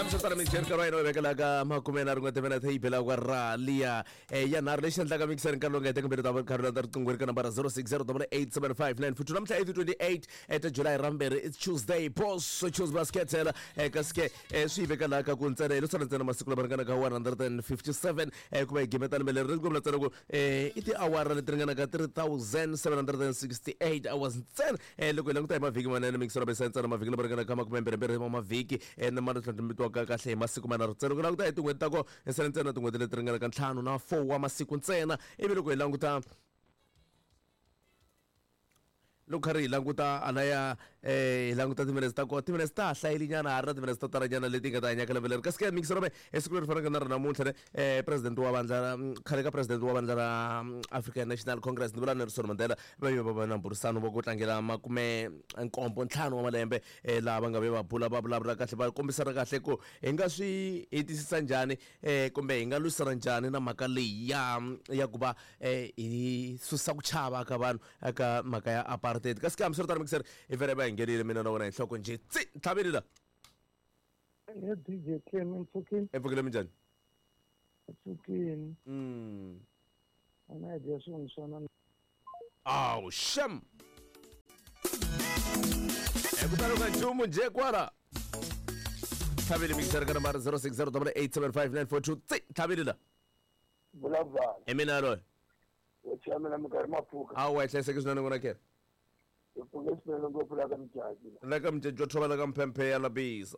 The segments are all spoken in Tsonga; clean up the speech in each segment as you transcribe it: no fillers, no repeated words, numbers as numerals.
Hambiswiritano mixeri nkarhi wa hina wu vekela ka makume na rin'we timinete yi bela kwa ra liya ya nharhu lexi endlaka mixeri nkarhi lowu nga heteka mbirhi ta nkarhi landza riqingho ri ka nambara 06087594 namuntlha i ti 28 ta July ra mbirhi, it's Tuesday, boss choose basket kasi ke swi yi veka laha ka ku ntsena hi lo sala ntsena masiku lama ringanaka 157 ku va hi gimeta lembe leri ri kombela ntsena ku i tiawara leti ringanaka 3768 hours ntsena. Loko hi languta hi mavhiki manene mixero besa ntsena mavhiki lama ringanaka makumembirhimbirhi wa mavhiki na ma tlhandlumitiwaka kahle hi masiku manharhu ntsena. Loko hi languta hi tin'hweti ta kona hi sale ntsena tin'hweti leti ringanaka ntlhanu na 4 wa masiku ntsena. Ivi loko hi languta loko karhi hi languta alaya hi languta timinetse ta kona, timinetse ta ha hlayile nyana, ha ri na timinetse to talanyana leti nga ta hanyaka lembe leri. Kasi ke mixero me esiku leri fanaka na ri namuntlha ne president wa vandla ra khale ka president wa vandla ra African National Congress ni vula Nelson Mandela va ve va va na mbhurisano wa ku tlangela makume nkombo ntlhanu wa malembe laha va nga ve va bula va vulavula kahle va kombisana kahle ku hi nga swi hetisisa njhani kumbe hi nga lwisana njhani na mhaka leyi ya ku va hi susa ku chava ka vanhu eka mhaka ya apartheid. Kasi ke hambiswiritano mixer hi vele va hi nghenile mina na wena hi nhloko njhe tsi ntlhaveni la. He DJ Clem, mpfukini. Mpfukile minjhani? Mpfukini. A na idea swin'we swa na. Aw, sham. Kutani ka nchumu njhe kwala. Tlhaveli mixer ka nambara 0608759442 tsi ntlhaveni la. Vulavula. Hi mina loyi. Wo tshamela minkarhi mapfuka. Awu, wa hlayiseke swinene n'wana khe. Hi pfuke swinene ngopfu la ka Mjaji. La ka Mjaji wa thova la ka Mphemphe ya Labisa.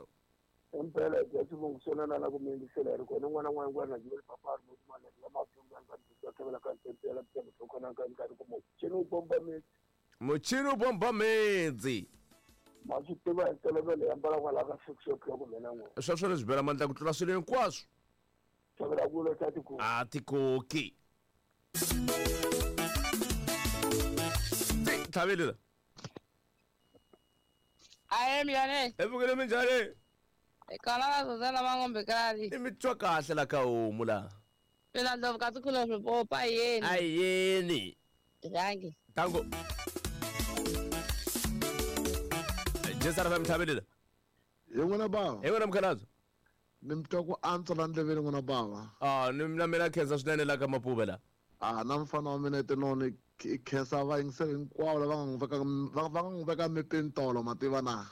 Impela hi dya xivongo xona na la ku mi yingisela hi ri kona n'wana n'wana n'wana na papa ri moti mali ya matunga nga ndzi tshemela ka Mphemphe ya Labisa mutlhokona ka nkarhi ku muchini wu bomba metsi. Muchini wu bomba metsi. Ma swi tiva hi ntolovelo hi ambala kwala ka 6 o'clock mina n'wana. Sweswo leswi bela mandla ku tlula swilo hinkwaswo. Tshemela ku lo ta tikoki. A tikoki. Tlhaveli la. Aye mjane. Epfukile minjhani? Kona la Zuzana Mangombe kali. I mi twa kahle la ka homu la. Mina ndlovu ka tikhula swipopa yeni. Ayeni. Rhangi. Tango. Jesara fa mtlhaveli la. Hi n'wina bava. Hi n'wina mukhalabye. Ni mi twa ku antswa la ndleveni n'wina bava. Ah, ni na mina khensa swinene la ka Mapuve la. Ah, na mfana wa mina tinoni i khensa vayingiseri hinkwavo lava nga n'wi veka va nga n'wi veka mepeni tolo mativa na.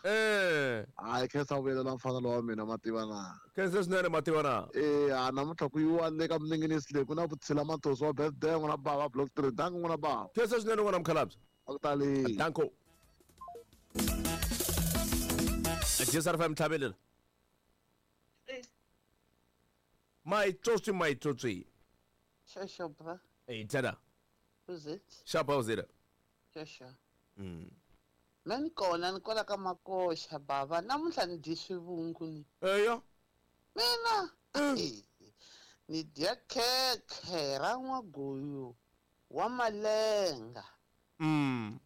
Ah, i khensa vuyelela mfana lowa mina mativa na. Khensa swinene mativa na. Ah, namuntlha ku yiwa le ka Mninginisi leyi ku na Vutshila Mathosi wa birthday n'wina bava block 3. Danko n'wina bava. Khensa swinene n'wina mukhalabye. A ku tali. Danko. Jesara fa mtlhavelela. Maitsotsi maitsotsi. Shosho bra. Hey, tada. Who's it? Shapa uzira. Shosho. Mina ni kona ni kwala ka Makoxa bava namuntlha ni dyi swivungu ni. Eya. Mina ni dya khekhe ra n'waguyu wa malenga.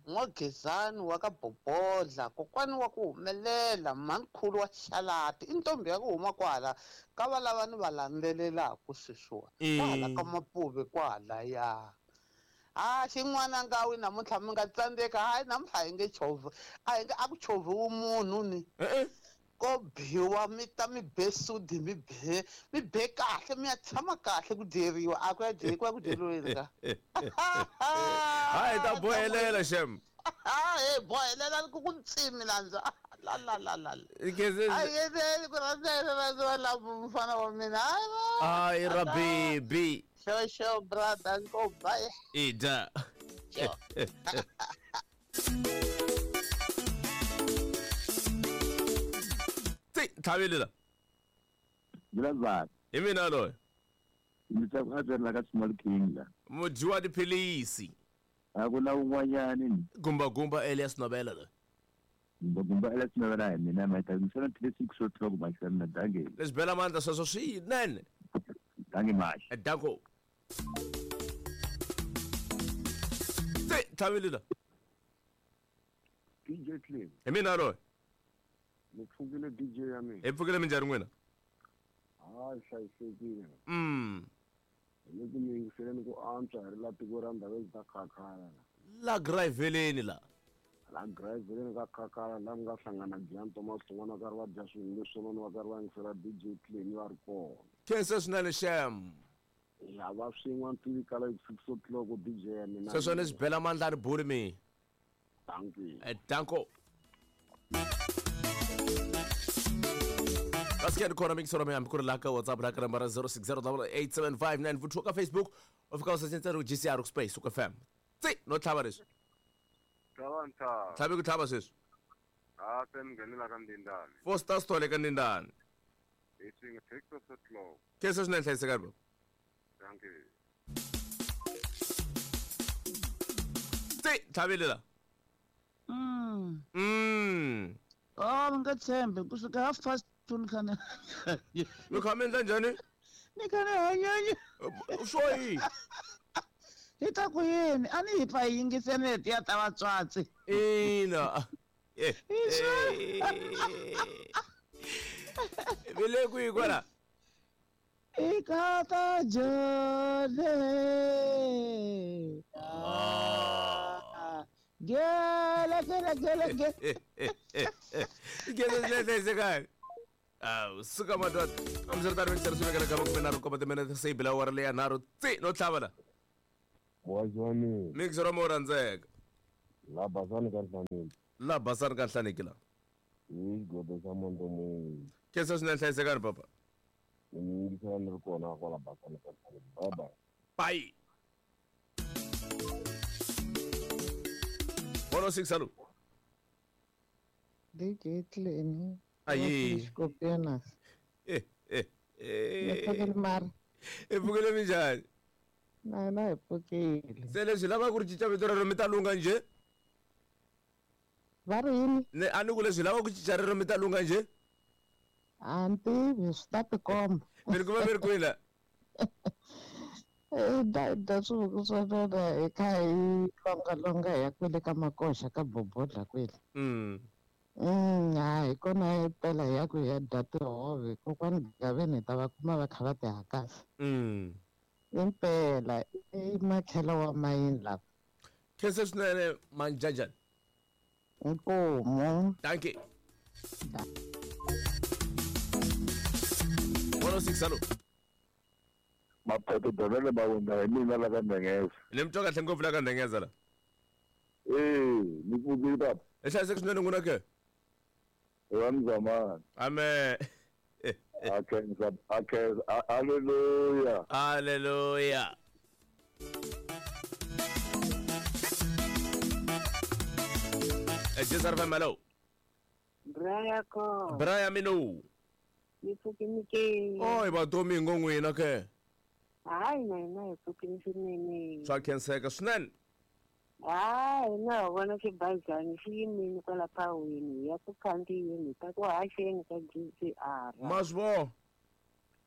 N'wagezani wa ka Bobodla, kokwani wa ku humelela, mhanikhulu wa Xalati, i ntombi ya ku huma kwala ka va lava ni va landzelelaka sweswiwa. Kwala ka Mapuve kwalaya. Ah, xin'wana ngawi namuntlha mi nga tsandzeka, hayi namuntlha hi nge chovhi, a hi nge a ku chovhiwi munhu ni. Ko biwa mi ta mi be sudi mi be mi be kahle mi ya tshama kahle ku dyeriwa a ku ya dyeri ku ya ku dyeriweni ka. Hayi ta bohelela shem. He bohelela ku ku ntsimi landza. La la la la. Hayi yena ku rhandza rhandza la mfana wa mina. Hayi ra baby. Sho sho brother go bye. Ida. Tlhaveli la. Vulavula. Hi mina loyi. Ndzi twa ku a la ka Small King la. Mudyi wa tiphilisi. A ku na un'wanyani ni. Gumba gumba Elias Nobela loyi. Gumba gumba Elias Nobela hi mina ma ta misana 36 o'clock ma xana na dange. Leswi bela mandla sweswo swinene. Dange maxi. Danko. Tlhaveli la. DJ Clem. Hi mina loyi. Ni pfukile DJ ya mina. Hi pfukile minjhani n'wina? Hayi hlayisekile. Hi le ku mi yingiseleni ku antswa hi ri la tiko ra ndhawu ta khakhala la. La Graveleni la. La Gravelen ka Khakhala la mi nga hlangana Gian Thomas Hlongwane va karhi va dya swilo leswinene va karhi va yingisela DJ Cleni va ri kona. Khensa swinene xem. Ya va swin'we ntivi kala hi 6 o'clock DJ ya mina. Sweswo ni swi bela mandla ni buli mi. Dankie. Danko. Kasi ni kona mikisoro mi hambi ku ri laha ka WhatsApp laha ka nambara 06087594 ka Facebook u fika u search ku GCR ku space ku FM. Tsi no tlhava leswi. Tlhava ntlhava. Tlhavi ku tlhava sweswi. Ha se mi nghenela ka Ndindani. Four stars tole ka Ndindani. Hi swin'we 6 o'clock. Khensa swinene hlayisekani baba. Dankie. Tsi tlhavile la. Oh, mi nga tshembi kusuka 2:30 ni khane. Mi kha mi endla njhani? Ni khane hanyanya. Swo yi. Hi ta ku yini? A ni hi pfa hi yingiseni letiya ta vatswatsi. Ina. Vi le kwihi kwala? Ikata jole. Gele gele gele gele. Gele gele hlayisekani. Awu suka madoda. Amseri mi swi vekela ka makume nharhu nkombo timinete se yi bila awara leya nharhu tsi no tlhava la. Wazwani. Mixero mo rhandzeka. La basani ka Nhlaneki. La basani ka Nhlaneki la. Hi xigodo xa Montomoyi. Khensa swinene hlayisekani papa. Ni mi yingisela ni ri kona kwala basani ka Nhlaneki. Bye bye. Bye. 106 alo. DJ Cleni. Ayi. Xikopiana. Mi mara. I pfukile minjhani? Na na hi pfukile. Se leswi lava ku ri cinca vito rero mi ta lungha njhe? Va ri yini? Ne a ni ku leswi lava ku cinca rero mi ta lungha njhe? A ni tivi swi ta tikomba. Mi ri kuma mi ri kwihi la? Da swivuku swa vona hi kha hi longalonga hi ya kwele ka makoxa ka bobodla kwele. Ha hi kona hi pela hi ya ku hi ya dya tihove kokwani Gaveni hi ta va kuma va kha va ti hakasa. Impela i makhelo wa mayini lava. Khensa swinene manjanjani. Inkomu. Dankie. 106 alo. Mapheto dovele ba wunda hi mina la ka Ndengeza. Ni mi twa kahle ngopfu la ka Ndengeza la. Ni pfukile papa. I hlayiseke swinene n'wina ke? Wa mzamani. Amen. Akhensa akhensa haleluya. Haleluya. Jezar Famalo. Braya ko. Braya mino. Ni pfukile ke. Oi ba domingo n'wina ke. Hayi na hina hi pfukile swinene. Swa khenseka swinene. Hayi na vona xibazana xi yimile kwala phawini ya ku khandziyeni ta ku haxeni ka GCR. Ma swi vona?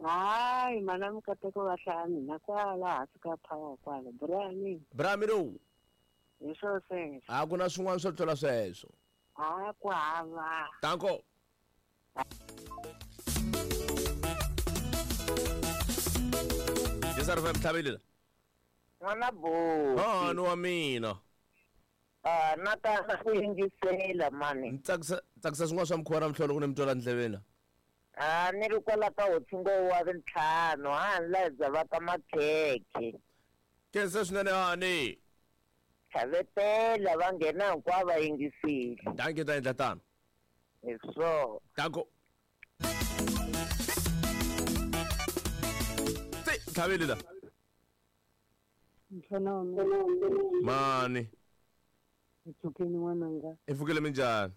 Hayi mana mikateko va hlaya mina kwala hansi ka phawa kwala. Braya. Braya mino. Hi swo sweswo. A ku na swin'wana swo tlula sweswo. A ku hava. Danko. Jezar Fam tlhavile la. N'wana buti. Mhani wa mina. Na ta na ku yingisela mani. Ni tsakisa swin'wana swa mukhuva na mihlolo ku ni mi twela ndleveni la. Ni ri kwala ka hotsingo wa ntlhanu ha ni la bya va ka makhekhe. Khensa swinene hani. Tlhavetela va nghena hinkwavo va yingisile. Dankie ta endla tano. Hi swona. Danko. Tsi tlhavile la. Mfana wa mina. Mani. Hi pfukile n'wananga. I pfukile minjhani?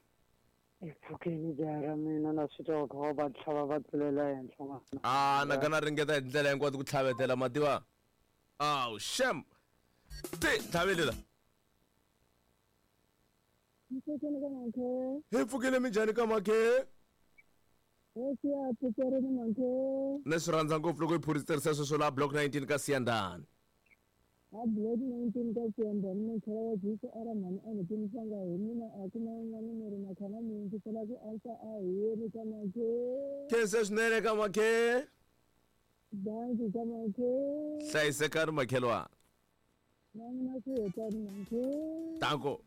Hi pfukile jaha ra mina na swi twa ku va tlhava va tlulela henhla n'wana. A na ka na ringeta hi tindlela hinkwato ku tlhavetela mativa. Awu xem. Ti tlhavile la. Hi pfukile minjhani ka makhe? Ni swi rhandza ngopfu loko hi phurisa sweswo la block 19 ka Siyandhani. A block 19 ka Siyandhani makhela wa GCR mhani a ni timisanga hi mina a ku na un'wana ni ri makhana mi yingisela ku ansa a hi ka makhe. Khensa swinene ka makhe. Dankie ka makhe. Hlayisekani makhelwana. Na mina swi hetani makhe. Danko.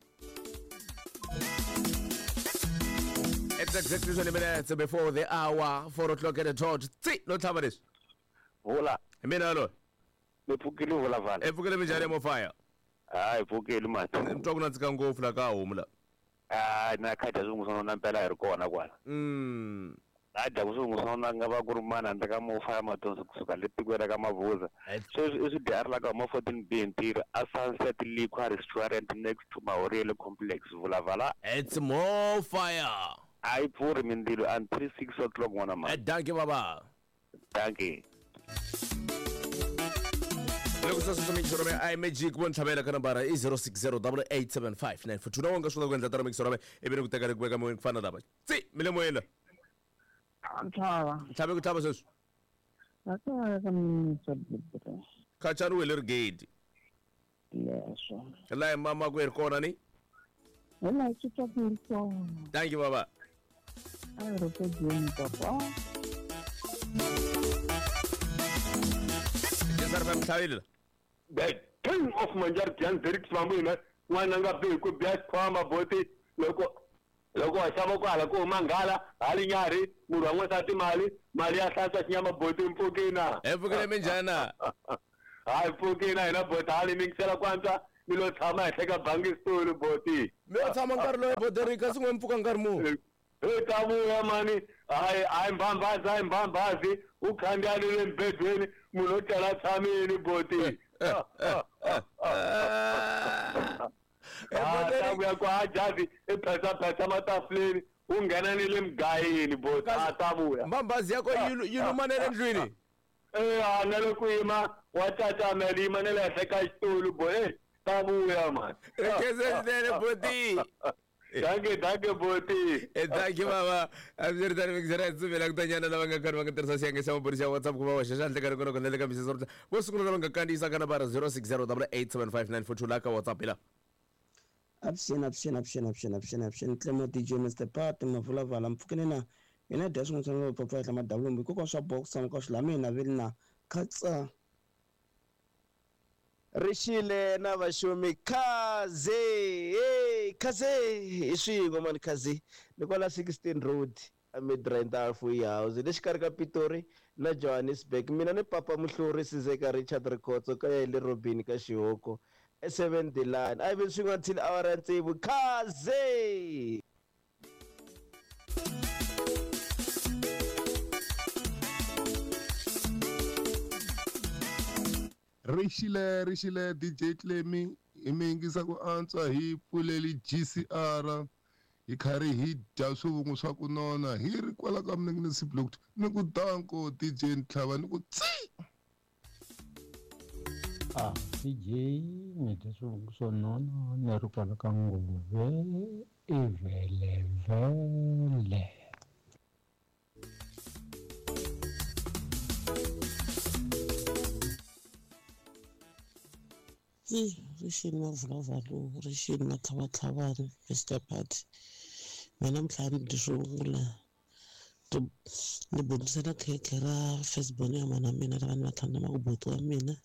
It's exactly 20 minutes before the hour, 4 o'clock at the dot. Tsi, no tlhava leswi. Vula. Hi mina loyi. Ni pfukile vula. E pfukile minjhani mofaya? Hayi pfukile mani. Ni twa ku nandzika ngopfu la ka homu la. Hayi na kha dya swin'wana na mpela hi ri kona kwala. A dya ku swin'wana nga va ku ri mani handle ka mofaya matonso kusuka le tikweni ra ka Mavuza. Sweswi i swi dya ri la ka huma 14 B ntirho a Sunset Liquor Restaurant next to Mahoriyele Complex vula vala. It's more fire. A yi pfuri mindzilo until 6 o'clock n'wana mani. Dankie baba. Dankie. Loko sweswo swi mixo rome i magic vo ntlhavela ka nambara i 0608875942 na wonga swi kota ku endla tara mixo rome ivi ni ku teka ni ku veka moyeni ku fana na lava tsi mi le moyeni la. Ntlhava. Ntlhave ku tlhava sweswi. Khachani wele ri gate. Leswo. Laha mama ku hi ri kona ni? Hi laha swi twa ku ri kona. Thank you baba. A hi ri ku dyeni papa. Mtlhavile. The king of Manjar Jan Derek Swamina, n'wana nga bi ku biya xikhwama boti loko loko wa xava kwala ku huma nghala hali nyarhi munhu wa n'wansati mali mali ya hlantswa xinyama boti mpfukina. E pfukile minjhani? Hayi pfukina hina boti hali mingisela ku antswa mi lo tshama henhla ka bangi xitulu boti. Mi lo tshama nkarhi lowu boti ri kasi n'we mpfuka nkarhi muni? Hi ta vuya mani hayi hayi mbambazi hayi mbambazi u khandziya ni le mbedweni munhu o tlela tshamini boti. Ta vuya ku ha jazi i phesapesa matafuleni u nghena ni le mugayini boti a ta vuya. Mbambazi ya ko yi luma na le ndlwini? E a na le ku yima wa cacamela yima na le henhla ka xitulu bo e ta vuya mani. Khensa boti. Dankie, dankie boti. Dankie baba. Hambiritano mixera hi tsuvela ku tanyana lava nga karhi va nga tirhisa xiyenge xa maburi xa WhatsApp ku va hoxa xandla ka rikona kona le ka misisi ro vo sungula lava nga kandziyisa ka nambara 0608875942 la ka WhatsApp la. Avuxeni avuxeni avuxeni avuxeni avuxeni avuxeni Clemo DJ Mr Pat Mavulavala mpfukeni na mina dya swin'wana swa papa hla madavulombi hikokwalaho swa box tshama ka swila mina veli na khatsa. Rixile na vaxumi khaze hey khaze hi swin'we mani khaze ni kwala 16 Road a Midrand House le xikarhi ka Pitori na Johannesburg mina ni papa Muhluri Sizeka Richard Rikhotso ka ya hi le Robini ka Xihoko e 7 the line a yi vi swin'we until hour ya tsevu khaze. Rixile rixile DJ Clemi hi mi yingisa ku antswa hi pfuleli GCR hi karhi hi dya swivungu swa ku nona hi ri kwala ka Mninginisi Block ni ku danko DJ Ntlhava ni ku tsi. A DJ ni dya swivungu swo nona ni ri kwala ka Ngove i vhelevhele. Rixini Mavulavalu rixini Matlhavatlhavani Mr Pat mina namuntlha ni dyi swivungu ni bundisela khekhe ra firstborn ya mana mina lava ni va tlhandlama ku buti wa mina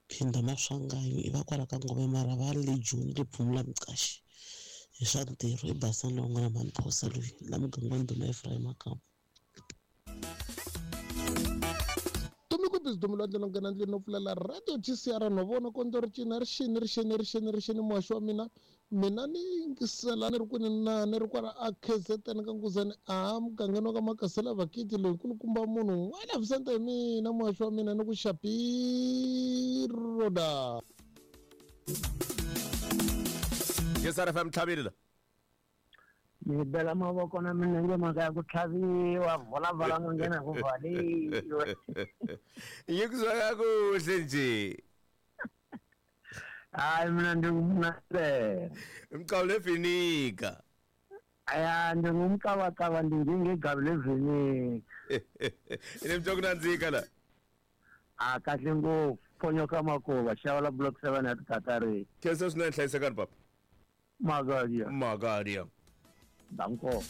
phinda Maswanganyi i va kwala ka Ngove mara va le Joni le Phumula Mqashi hi swa ntirho i basani lowu nga na Mamphosa loyi la muganga wa ndhuna Ephraim Makamu. Dumelo ndlela nghena ndlwini no pfulela radio GCR no vona kondlo ri cina rixini rixini rixini rixini muhaxi wa mina mina ni yingisela ni ri kwini na ni ri kwala a KZN ka Nkuzani a mugangeni wa ka Makasela Vakiti loyi nkulukumba munhu n'wana Vicente hi mina muhaxi wa mina ni ku Xapiroda. GCR FM tlhavile la. Ni bela mavoko na milenge mhaka ya ku tlhaviwa vholavala no nghena ku vhaliwe. Yi ku zwaka kuhle nje. Hayi mina ndingumnasela. Mqawu levinika. Aya ndingumqabaqaba ndinjengegabi levinika. Ine mtwa kunandzika la. A kahle ngopfu ponyoka makuva xava block 7 ya tikatari. Khensa swinene hlayisekani papa. Magadia. Magadia. Danko.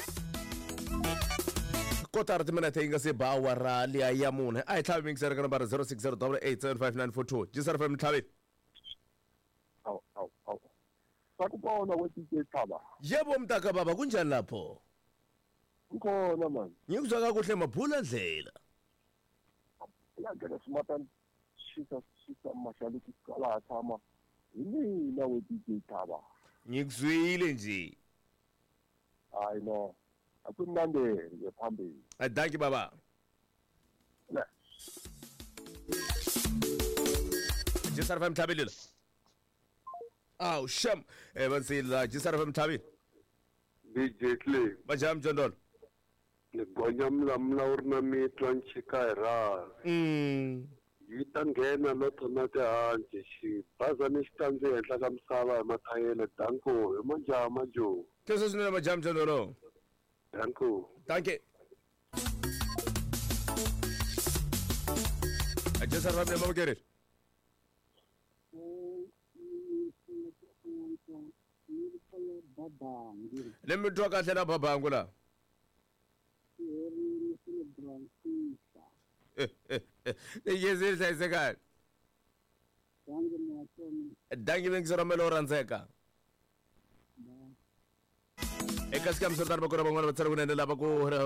Kotara timinete yi nga se ba awara liya ya mune a hi tlhavi mingiseri ka nambara 0608875942 GCR FM tlhavi. Awu awu awu. Sakubona we DJ Thaba. Yebo mntaka baba kunjani lapho? Nkona mani. Nyikuzwa kakuhle mabhula ndlela. Ya ngena smata shisa shisa mashaliki kala tshama. Hi mina we DJ Thaba. Ngikuzwile nje. Hayi no. Akumnandeli nje phambili. Dankie baba. Ne. GCR FM Thabile. Aw sham. Bansila GCR FM Thabile. DJ Clay. Bajam Jondol. Ni gonya mlamla u ri na mitwa nchika hi rhavi. Yi ta nghena lotho na tihanci xibazana xi ta ndzi henhla ka misava hi mathayele danko hi majama jo. Kesho swinene majam Jondolo. Danko. Dankie. GCR FM Mabukeri. Le mi twa kahle na babangu la. Yezile hlayisekani. Dankie bengizoramela o rhandzeka. Eka sikamsotani va kona van'wana va tsala kunene lava ku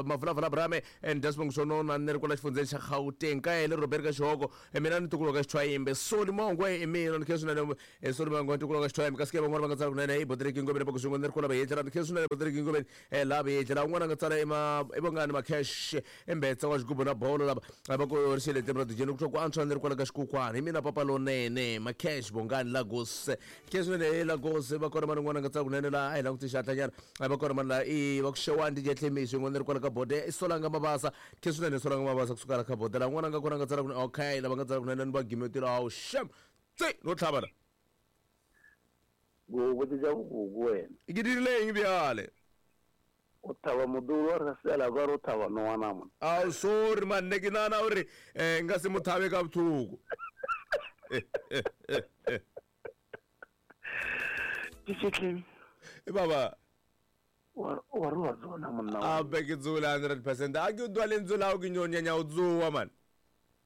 mavulavula brame and desmond sonona ni ri kwala xifundzeni xa Gauteng ka yele Robert ka Xihoko mina ni ntukulu ka Xithwayimbe Soli Mongwe i mina ni khe swinene Soli Mongwe ntukulu ka Xithwayimbe kasi ke van'wana va nga tsala kunene i Botriki Ngobeni va ku swin'we ni ri kwala Vayetlela ni khe swinene Botriki Ngobeni la Vayetlela un'wana a nga tsala i vongani Macash Embetsa wa xigubu na bolo lava va ku ri xile ra dijeni ku twa ku antswa ni ri kwala ka xikukwani hi mina papa lonene Macash Bongani Lagos khe swinene Lagos va kona mani un'wana a nga tsala kunene la a hi languti xihatlanyana va kona mani la i va ku xewani DJ Tlemiso yin'wana ri kwala ka bode i Solanga Mabasa khe swinene Solanga Mabasa kusuka la ka bode la un'wana a nga kona a nga tsala kunene okay lava nga tsala kunene ni va gimetile awu sham tse no tlhava la go botsa bogogo wena ke dirile eng bjale o thaba modulu wa re sela ba ro thaba no wana mo awu sorry man ne ke nana uri nga se mo thabe ka botlhoko DJ baba wa re wa tsona monna a be ke tsola 100% a ke utlwa lentswe la gago ke nyonyanya o tsoa man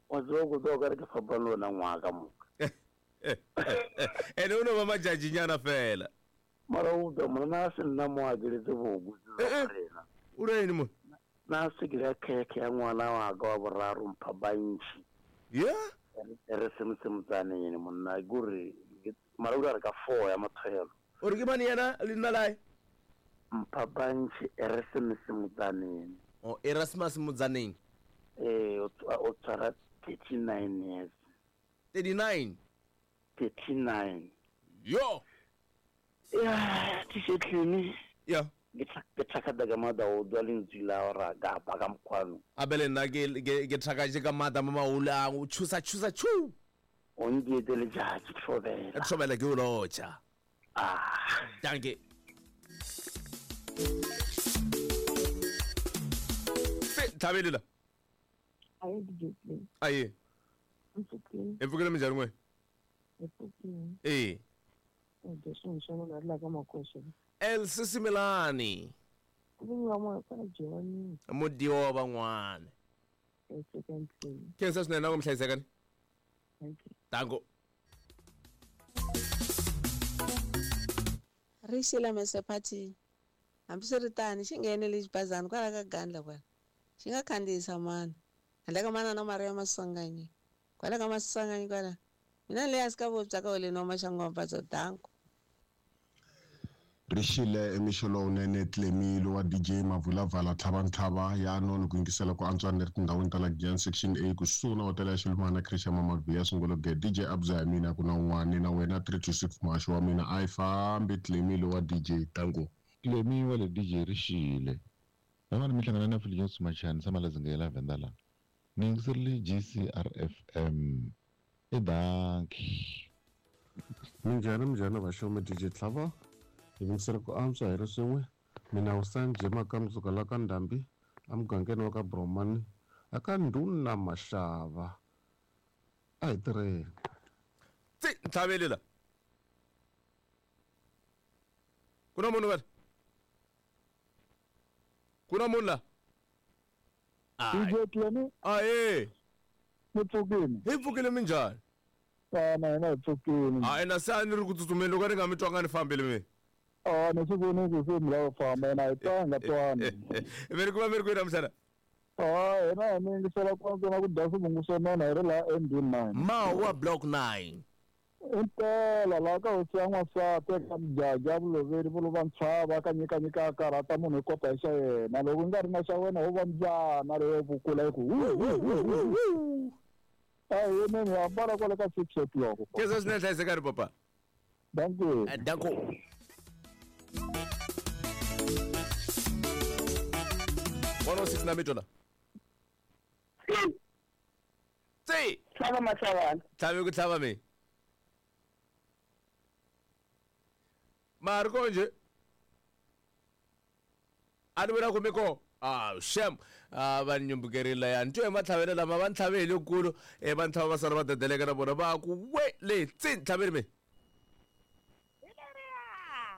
wa tsoa go tsoa ka re ke fapana le wena ngwaka moka ene o no ba majajinyana fela mara o utlwa monna a se nna mo a keletse bogo o re eng mo na se ke la khekhe ya ngwana wa ka wa boraro mpha bantši yeah re semotsaneng monna kore mara o re ka 4 ya mathelo o re ke mane yena le nna lae mpha bantši Erasmus Motsaneng o Erasmus Motsaneng o tshwara 39 years 39 39 yo ya tishetlini ya ke thakada ka mada o dwa lentswe la ora ka pa ka mkhwano abele nna ke thakatše ka mada mo maolang o tshusa tshusa tshu o ndietele jaji tlhobela tlhobela ke o lotša dankie Thabile la aye DJ Clay aye e pfukile minjhani n'we e El Sisimilani mudiwa wa van'wana khensa swinene na ku mi hlayisekani tango ri xila Mr Party hambiswiritano xi nghenele xibazana kwala ka Gandla kwala xi nga khandziyisa mani handle ka manana Maria Maswanganyi kwala ka Maswanganyi kwala mina leyi a swi ka vupya ka holeni wa Maxangomba danko Rixile emixo lowunene Tlemilo wa DJ Mavulavala Tlhavantlhava ya noni ku yingisela ku antswa ni ri tindhawini ta la Giyani section A kusuhi na hotela ya Xilumana Christian Mamabiya Sungolo Ge DJ Abza ya mina ku na un'wana na wena 326 muhaxi wa mina a yi fambi Tlemilo wa DJ Tango Tlemi wa le DJ Rixile van'wana mi hlangana na Philip Machani tshama la Zingela Venda la ni yingiserile GCRFM e dankie minjhani minjhani vaxomi DJ Tlhava hi yingisela ku antswa hi ri swin'we mina Usanje Makamzuka la ka Ndhambi emugangeni wa ka Bromani aka Ndhuna Maxava a hi tirheni tsi tlhaveli la ku na munhu vele ku na munhu la DJ Tlemi aye mi pfukile hi pfukile minjhani na hina hi pfukile a ina se a ni ri ku tsutsumeni loko ni nga mi twanga ni fambile mi A ni swi voni ku se mi lava ku famba yena hi twanga twani. Mi ri kuma mi ri kwihi namuntlha? A hina hi mi yingisela kwantsena ku dya swivungu swo nona hi ri laha MB9. Mawa block 9. Impela laha ka hosi ya n'wansati eka Mjaja Vuloveri Vuluva Ntshava ka nyikanyika a karhata munhu hi kota hi xa yena loko u nga ri na xa wena ho va mbyana leyo vukula yi ku hu hu hu hu hu. A hi yimeni hi hambana kwale ka 6 o'clock. Khensa swinene hlayisekani papa. Dankie. Danko. 106 na mitwa la. Tsi. Tlhava matlhavana. Tlhavi ku tlhava mi. Ma ri konje. A ni vula ku mi ko. Ah, shem. Ah, va ni nyumbukerile ya. Ni twe hi matlhavelo lama va ni tlhave hi lekulu. Eh, va ni tlhava va sala va dedeleka na vona va ku we le tsi ni tlhaveli mi.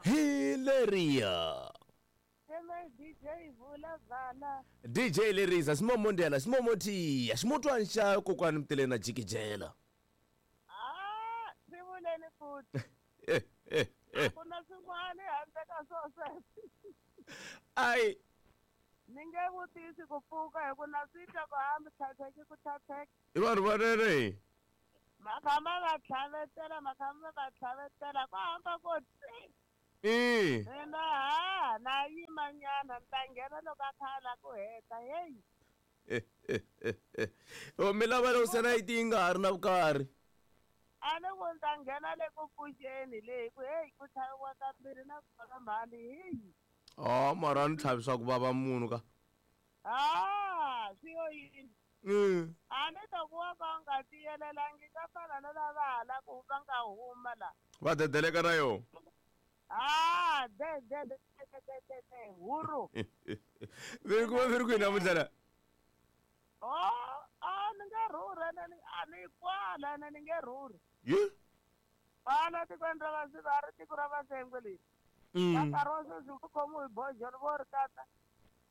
Hi leriya. DJ vula vala. DJ Lerisa ximomondela ximomotiya ximotwani xa kokwani Mtileni na jikijela. Ah, swi vuleni futhi. Eh, eh, eh. A ku na swin'wana handle ka swo sweswo. Ai. Ni nge vutisi ku pfuka hi ku na swi twa ku hambi tlhatlheki ku tlhatlheka. I vanhu vanene. Makhamba va tlhavetela, makhamba va tlhavetela, ku hamba ko tsi. I. Mina ha na yima nyana ni ta nghena loko a kha a la ku heta heyi. O mi lava loko se na yi ti nga ha ri na vukarhi. A ni ku ni ta nghena le ku pfuxeni le hi ku heyi ku tlhaviwa kambirhi na kona mhani heyi. Oh, mara a ni tlhavi swa ku vava munhu ka. Ha swi yo yini. A ni to ku wa ka u nga tiyelelangi ka fana na lava ha la ku va nga huma la. Va dedeleka na yona. Ah, de de de de de de de huru. Mi ri kuma mi ri kwihi namuntlha la? Oh, a ni nge rhurhi ene ni a ni kwala ene ni nge rhurhi. Yi? Kwala tikweni ra Vasiva a ri tiko ra Vasengwe leri. Ka nkarhi wa sweswi ku khomiwe hi bojolo vo ri katsa.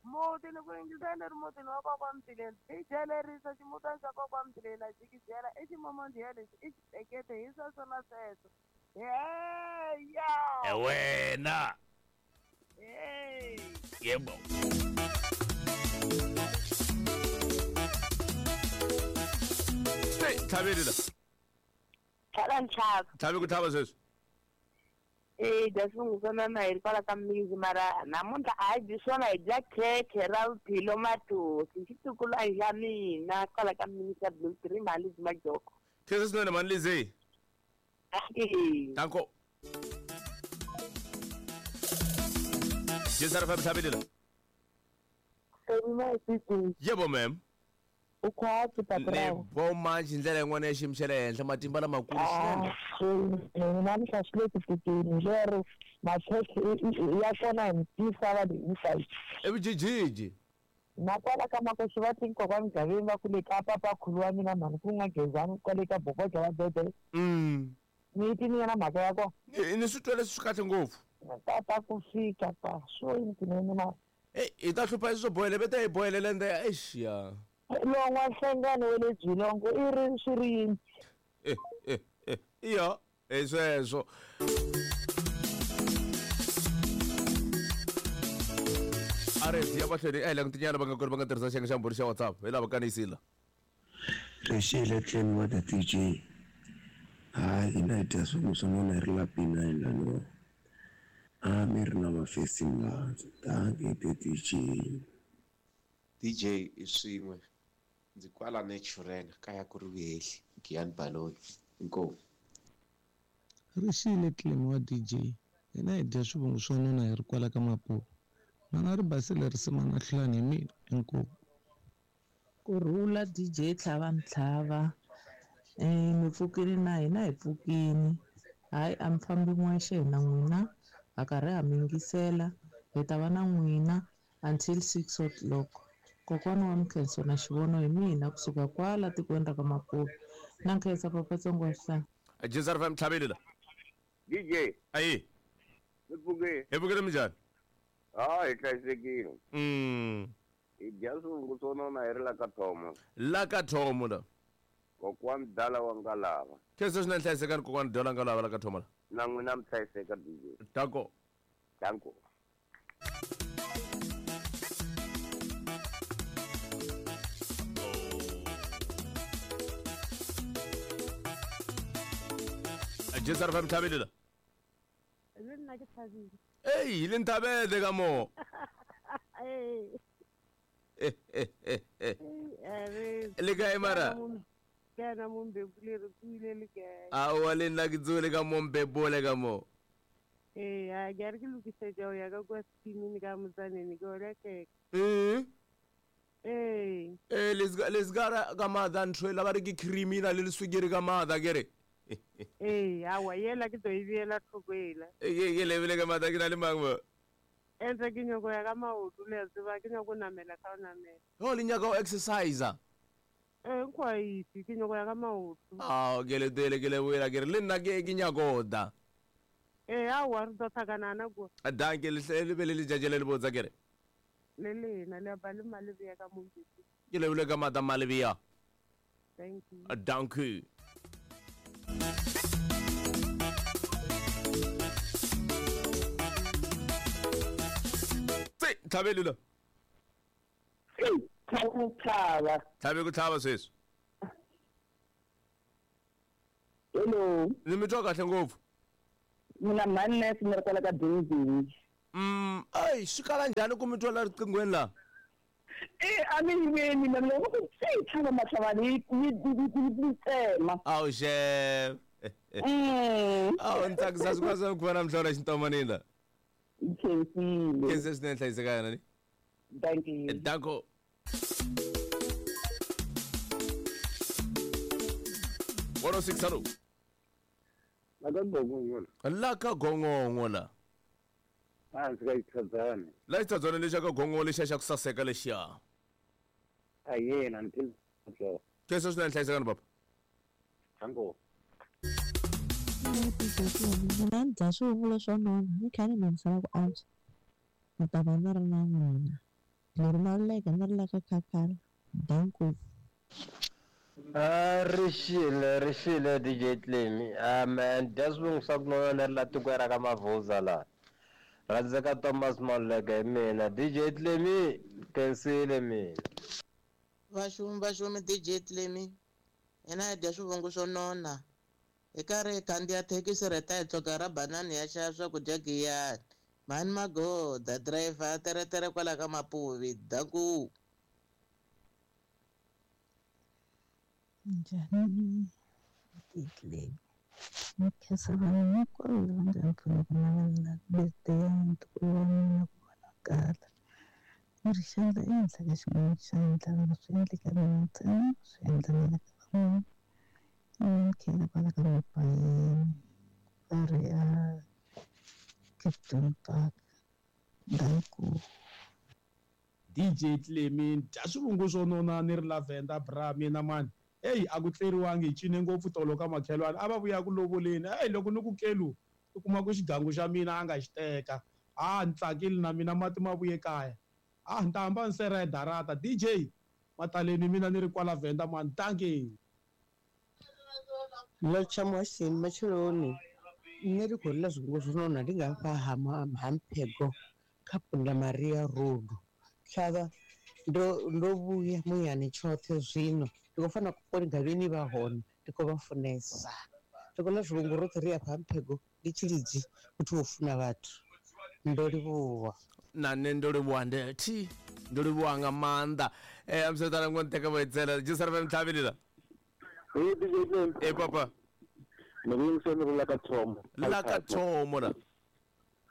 Muti ni ku yingisela ni ri mutini wa kokwa Mtileni. DJ lerisa ximutana xa kokwa Mtileni a jikijela i ximomondhiya lexi i xitekete hi sweswo na sweswo. Heya! Wena. Hey. Yebo. Hey, tlhaveli la. Tlhava ntlhava. Tlhavi ku tlhava sweswi. Eh, dya swivungu mama hi ri kwala ka mizi mara namuntlha a hi dyi swona hi dya khekhe ra vuphilo mathosi xitukulwana xa mina kwala ka mizi ya Blue Tree mali majoko. Khensa swinene mhani Lizzy. Danko. Jezara fam tlhaveli la. Yebo ma'am. Ukhwatsi Ni patrao. vo manji ndlela yin'wana ya xiyimo xa le henhla matimba lamakulu swinene. Namuntlha swi le ku fikeni lero makhekhe ya kona hi mitisa va hinkwayo. Evujijiji. Na kwala ka makosi va ti kokwa mugaveni va ku le ka papa khulu wa mina mhani ku nga gezani kwale ka bokoja wa bebe. Ni ti ni na mhaka ya kona. Ni swi twele swi kahle ngopfu. Tata ku fika pa swo yini tinene ma. Ey, hi ta hlupha swo bohele vete hi bohelele ende eish ya. Lon'wa nhlengano wa le Jilongo i ri swi ri yini? Iya, hi sweswo. A ri ya mahlweni a hi langutinyana va nga kona va nga tirhisa xiyenge xa mbhuri xa WhatsApp hi lava kaniyisile. Rixile tlhelo wa the DJ. Hayi hina hi dya swin'we swa n'wina hi ri la B9 laniwa. A mi ri na mafesi laha. Dankie the DJ. DJ i swin'we ndzi kwala Naturena kaya ku ri vuhehli Giyani Baloyi inkomu. Rixile Clem wa DJ hina hi dya swivungu swa nona hi ri kwala ka Mapuva mana ri basile risima na hlulani hi mina inkomu. Kurhula DJ tlhava ntlhava mi pfukile na hina hi pfukini hayi a mi fambi n'wexe hina n'wina ha karhi ha mi yingisela hi ta va na n'wina until 6 o'clock. Kokwana wa Mkhenso na xivono hi mina kusuka kwala tikweni ra ka Mapuva na nkhensa papatsongo wa xihlanga. Jezar fam tlhaveli la. DJ. Ayi. Mi pfukile. Hi pfukile minjhani? Ah, hi hlayisekile. Hi dya swivungu swo nona hi ri la ka Thomo. La ka Thomo la. Kokwani Dala wa Ngalava. Khensa swinene hlayisekani kokwani Dala wa Ngalava la ka Thomo la. Na n'wina mi hlayiseka DJ. Danko. Danko. Jezar fam thabile la. Le nna ke thabile. Ei, le nthabele ka mo. Le kae mara? Ke na mo mbebule re tswile le kae? Aowa le nna ke tswile ka mo mbebole ka mo. Ee, a ke re ke lokisetsa ho ya ka kwa scheming ka motsaneng ke order cake. Ee. Eh, le ska ka matha ntho la ba re ke cream ina le leswikiri ka matha ke re. Ee, aowa yela ke tlo e beela thoko ela. Ke lebile ka matha ke na le mang mo? Entse ke nyako ya ka maoto le a tseba ke nyako namela ka o namela. Ho le nyaka o exercise? Eh, nkwa itse ke nyako ya ka maoto. Ah, ke le tele ke le boela ke re le nna ke nyako da. Eh, aowa re tlo tlhakanana kwa. Danke le le be le letšatši le le botsa ke re. Le lena le ba le malebea ka mo. Ke lebile ka matha malebea. Thank you. Danke. Tse, thabele la. Tlhaba. Thabe go tlhaba sweswi. Hello. Ni mi twa kahle ngopfu. Mina mhani ni ri kwala ka Benjini. Ai, swi kala njhani ku mi twa la riqinghweni la? Eh, a mi yimeni mina loko ku tse tlhava matlhavani yi tsema. Awu xef. Awu ni tsakisa swi kwasa ku va na mihlola xintomanini la. Khensile. Khense swinene hlayiseka yena ni. Thank you. Danko. One oh six hello. La ka gongongo. La ka gongongo la. Hansi ka xitshadzana. La xitshadzana lexa ka gongongo lexa xa ku saseka lexiya. A yena ni phil. Khense swinene hlayisekani papa. Danko. Mina ni dya swivungu swo nona ni kha ni nonisela ku antswa ni ta va ni ri na n'wina leri maluleke ni ri la ka khakhala danko. Rixile DJ Clemi. Man, dya swivungu swa ku nona ni ri la tikweni ra ka Mavuza laha. Rhandzeka Thomas Maluleke hi mina. DJ Clemi, khensile mina. Vaxumi DJ Clemi. Hina hi dya swivungu swo nona. Hi karhi hi khandziya thekisi ri ta hi tluka ra banani ya xava swakudya giyani. Mhani Magoda, driver teretere kwala ka Mapuvi. Danku. Njhani Clemi? Ni khensa vanhu hinkwavo lava nga ni pfuna ku navelela birthday ya ntukulu wa mina ku va na kala. Ni ri xandla ehenhla ka xin'wana xandla loko swi endleka mina ntsena swi endla na le ka van'wana. Ni khela kwala ka Mapayeni va ri a Captain Park. Danko. DJ Clemi, dya swivungu swo nona ni ri Lavender bra mina mani. Hey, a ku tleriwangi hi cine ngopfu tolo ka makhelwani a va vuya ku lovoleni. Hey, loko ni ku kelu u kuma ku xigangu xa mina a nga xi teka. A ni tsakile na mina mati ma vuye kaya. A ni ta hamba ni sera darata. DJ mataleni mina ni ri kwala Venda mani. Dankie. Lotsha muhasheni matsheloni nṋe ndi khou ḽa zwingo zwo nona ndi nga hafha ha Mphego kha Punda Maria Road. Tlhavha ndo vhuya muyani tshoṱhe zwino ndi khou fana koni gavheni vha hone ndi khou vha funesa. Ndi khou ḽa zwivhungu roṱhe ri afha ha Mphego ndi Tshilidzi muthu wo funa vhathu. Ndo livhuwa. Na nṋe ndo livhuwa ndethi ndo livhuwa nga maanḓa. Amsotala ngo nteka voitsela jisarve mtlhavelela. Eh papa. Ni la ka thomo. La ka thomo la.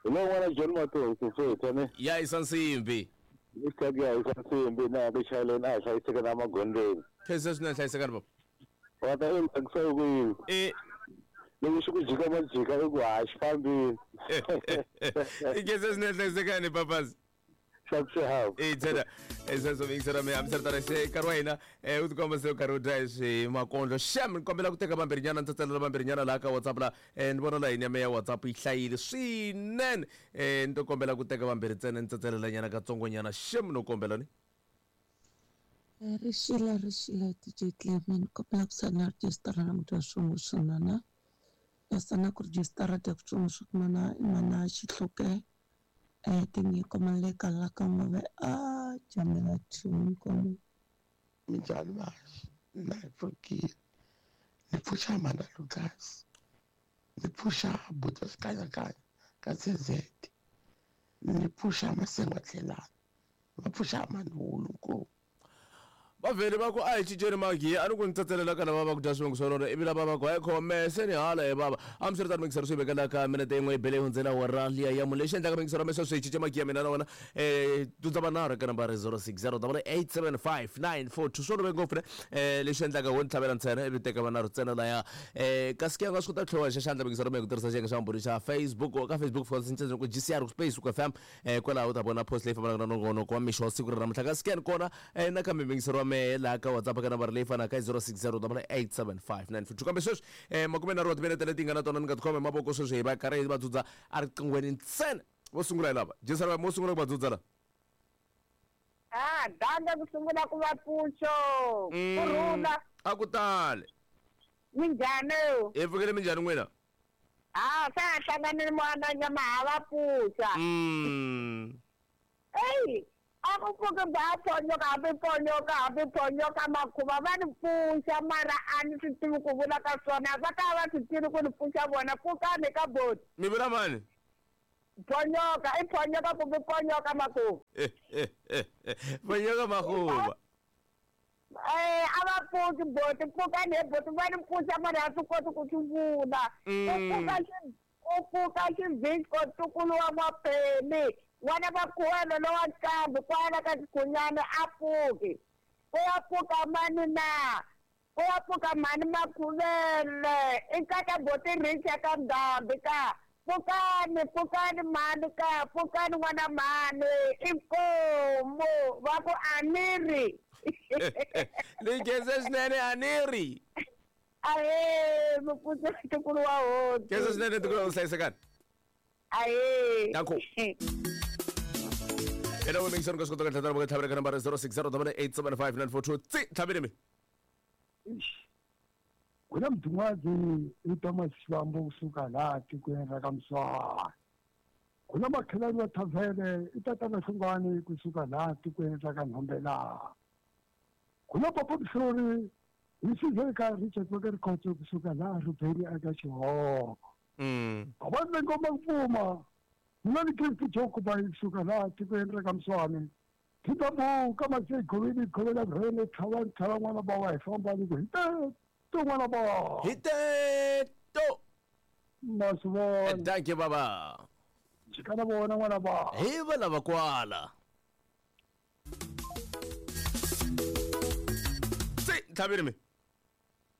Lo n'wana John Mato ku feta ne. Ya isansimbi. Ni tsaga ya isansimbi na ku chayeleni a hlayiseka na magondzweni. Khensa swinene hlayisekani papa. Wa ta endla ku ku yini? Eh. Loko swi ku jika majika i ku ha xi fambile. Khensa swinene hlayisekani papas. E tsena esweso mingisera mi hambisana se nkarhi wa hina u tikomba se u karhi u dya swi makondlo xem ni kombela ku teka vambirhinyana ni tsatselela vambirhinyana laha ka WhatsApp la ni vona layini ya me ya WhatsApp yi hlayile swinene ni to kombela ku teka vambirhi ntsena ni tsatselelanyana katsongonyana xem no kombela ni Rixile DJ Clemi ni kombela ku sala rejistara na mudya swin'we swin'wana na sana ku rejistara dya ku swin'we swin'wana i mana Xihluke. Tinyiko Maleka la ka N'wave a Jamela 2 inkomu. Minjhani vaxi na hi pfukile ni pfuxa mhana Lucas ni pfuxa buti wa xikanyakanya ka CZ ni pfuxa Masengo Tlhelani va pfuxa Manhulu nkomu. Va vhele va ku a hi cinceni magiya a ni ku ni tsatselela ka lava va ku dya swivongo swa lona ivi lava va ku hayi khome se ni hala he bava hambiswiritano mingisero swi vekela ka minete yin'we yi bele yi hundzela awara liya ya mune lexi endlaka mingisero ya sweswi hi cince magiya mina na wena um dundza vanharhu eka nambara 060 875 942 swo olove ngopfu ne um lexi endlaka wo ni tlhavela ntsena ivi teka vanharhu ntsena laya um kasi ke a nga swi kota ku tlhela xa xandla mingisero mi hi ku tirhisa xiyenge xa vumbhuri xa Facebook ka Facebook fika cinca ku GCR space ku FM Kwalaho u ta vona post leyi fambelaka na nongonoko wa mixo wa siku ra namuntlha. Ka scan kona nakambe muyingiseri wa mehe laha ka WhatsApp ka nambara leyi fanaka 0608875942. Kambe sweswi makumenharhu wa timinete leti hi nga na tona ni nga tikhoma hi mavoko sweswi hi va karhi hi va dzudza eriqinghweni ntsena. Vo sungula hi lava. Jensana va mo sungula ku va dzudza la. Ah, danga ku sungula ku va pfuxo. Ku rhula. A ku tali. Minjhani? Hi pfukile minjhani n'wina? Ah, se a hlanganile n'wana nyama ha va pfuxa. Eyi, a ku pfuki ba ponyoka hambi ponyoka hambi ponyoka makhuva va ni pfuxa mara a ni swi tivi ku vula ka swona va ta va swi tivi ku ni pfuxa vona pfukani ka boti. Mi vula mani? Ponyoka i ponyoka kumbe ponyoka makhuva. Ponyoka makhuva. Eh, a va pfuki boti pfukani he boti va ni pfuxa mara a swi koti ku swi vula u pfuka xi u pfuka xivhisco ntukulu wa n'wapeni n'wana va khuwelo lowa nqambi kwala ka xikhunyana a pfuki ku ya pfuka mani na ku ya pfuka mhani makhuvele i nkata boti richa ka ndhambi ka pfukani pfukani mhani ka pfukani n'wana mhani inkomu va ku a ni ri ni khense swinene a ni ri ahee mupfuxi ntukulu wa hosi khense swinene ntukulu wa hlayisekani ahee danko ena we mingisani ka swi kota ka tlhatana voka tlhavela ka nambara 060 875 942 tsi tlhavele mi Ku na mudun'wazi i Thomas Xivambo kusuka laha tikweni ra ka Muswana. Ku na makhelwani wa Thavhele i tatana Hlungwani kusuka laha tikweni ra ka Nhombelani. Ku na Papa Mhlori hi Sizwe ka Richard wa ka Rikhotso kusuka laha Rubeni aka Xihoko. Avani va ngoma ku pfuma mina ni Gift Joe Kubayi kusuka laha tikweni ra ka Muswana. Thitabuka mase goveni govela rhele tlhava tlhava n'wana ba wa hi famba ni ku hi teto n'wana ba. Hi teto. Na swi vona. Thank you baba. Jikana vona n'wana ba. Hi va lava kwala. Se tlhavile mi.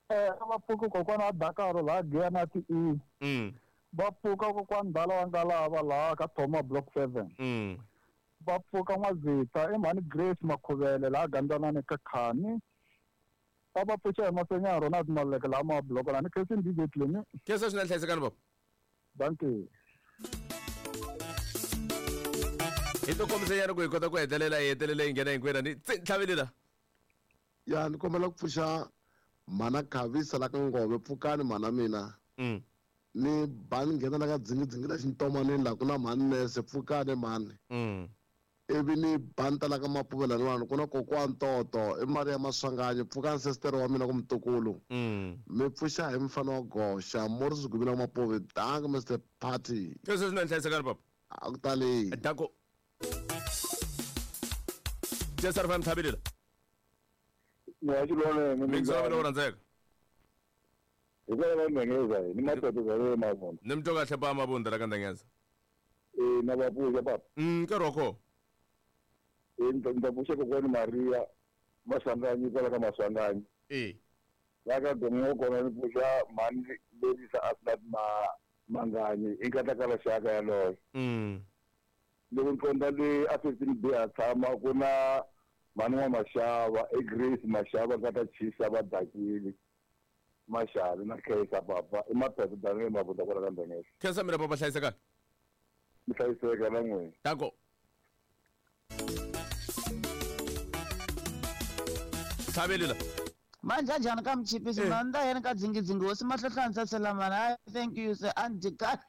Eh va pfuka kokwana wa Dakaro laha Giyani ti E. Va pfuka kokwana Dala wa Ngalava laha ka Thoma Block 7. Va pfuka N'wazita i mhani Grace Makhuvele laha Gandzanani ka Khani. Va va pfuxa hi Masenya Ronald Maluleke laha Mabloko laha ni khensini DJ Clemi. Khensa swinene hlayisekani baba. Dankie. Hi to kombisa nyana ku hi kota ku hetelela hi hetelela hi nghena hinkwenu ni tsi tlhavile la. Ya ni kombela ku pfuxa mhana Khavisa la ka Ngove pfukani mhana mina. Ni ba ni nghena la ka dzingidzingi la xintomaneni la ku na mhani nese pfukani mhani. Ivi ni ba ni ta la ka Mapuve laniwani ku na kokwani Toto i Maria Maswanganyi pfukani sestere wa mina ku mutukulu. Mi pfuxa hi mfana wa goxa Morris Gumile wa Mapuve dankie Mr Party. Khensa swinene hlayisekani papa. A ku tali. Danko. Jesar FM tlhavile la. Ya xilwane Mix wa mina wo rhandzeka. Hikwalaho ka Ndengeza ni matoto za le Mavunda. Ni mi twa kahle pa Mavunda la ka Ndengeza. Eh na va pfuxa papa. Nkarhi wa kona. Eh ni ta pfuxa kokwani Maria Maswanganyi kwala ka Maswanganyi. La ka Gongo kona ni pfuxa mhani Lerisa Asnat Manganyi i nkata xaka yaloye. Loko ni qonda le a 15 B a tshama ku na mhani wa Mashava i Grace Mashava nkata Chisa va dakile. Mashava na Khensa papa i Maphephe Daniel Mabunda kwala ka Ndengeza. Khensa mina papa hlayisekani. Mi hlayiseka na n'wina. Danko. Tlhaveli la. Manje njhani ka mchipisi mna ni ta yena ka dzingidzingi hosi mahlohlanisa selamana. I thank you sir andika.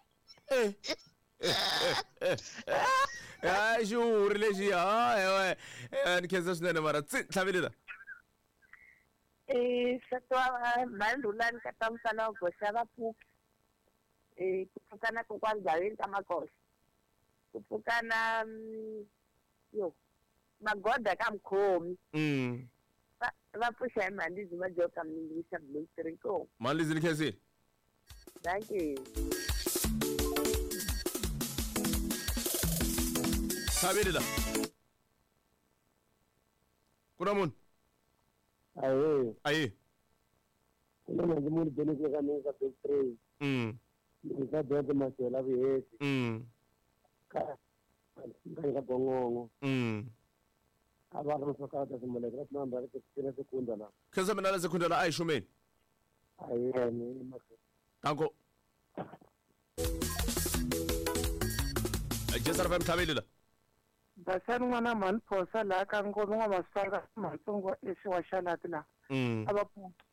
Hayi xiwuri lexi hayi ni khensa swinene mara tsi tlhavelela. Nsati wa mhandhulani ka ta mfana wa goxa va pfuki. Ku pfuka na kokwani Gaveni ka Makoxa. Ku pfuka na yo magoda ka Mkhomi. Va pfuxa hi Malizi va joka Mlingisa Blue 3 ko. Malizi ni khensile. Thank you. Tlhavelela. Ku na munhu? Ahe. Ahe. Ku na mhandzi munhu Dennis ka mina ka Blue 3. Ni ka George Masela Viheti. Ka ka Gongongo. A va ri swa ka Simoleke ra namba ra sekunda sekunda la. Khensa mina la sekunda la a hi xumeni. Ahe ni mahlweni. Danko. Jesar FM tlhavelela. Basani n'wana mhani Phosa laha ka Ngome n'wamasanga matsongo esi wa xalati laha. A va pfuki.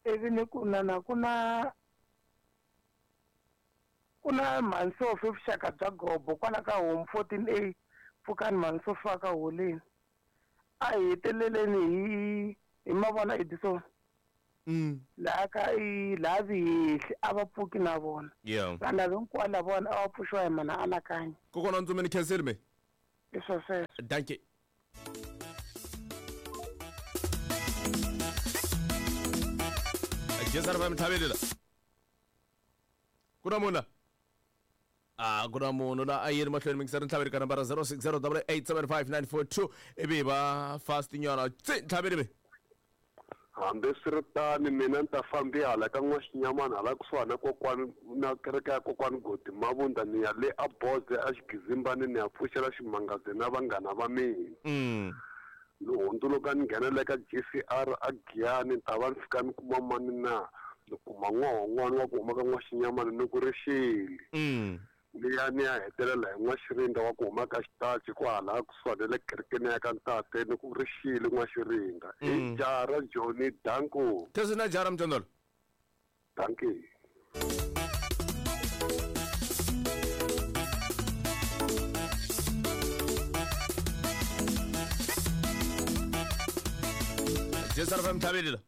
Ivi ni ku na ku na mhansofi vuxaka bya gobo kwala ka home 14A pfukani mhansofi wa ka holeni. A hi heteleleni hi mavona Edison. Laha ka i laha Vihehli a va pfuki na vona. Vanhu lava hinkwavo lava vona a va pfuxiwa hi mana anakanya. Kokwana Ntsume ni khensile me. I swo sweswo. Dankie. Jesar FM tlhavelela. Ku na munhu la? A ku na munhu la a yeni mahlweni mingiseri ntlhaveli ka nambara 0608875942 ivi hi va fast nyana tsi ntlhaveli me. Hambiswiritano mina ni ta fambi hala ka N'waxinyamana hala kusuhani na kokwani na kereke ya kokwani Godi Mavunda ni ya le a Boze a Xigizimbani ni ya pfuxela ximangaze na vanghana va mina. Ni hundzuluka ni nghenela ka GCR a Giyani ni ta va ni fika ni kuma mani na ni kuma n'wahon'wana wa ku huma ka N'waxinyamana ni ku ri xili. Ni ya ni ya hetelela hi N'waxirinda wa ku huma ka Xitachi kwahala kusuhani na le kerekeni ya ka ntate ni ku ri xile N'waxirinda. I jara Johnny Danko. Khensa na jara Mtondolo. Dankie. Jesar FM tlhavelela.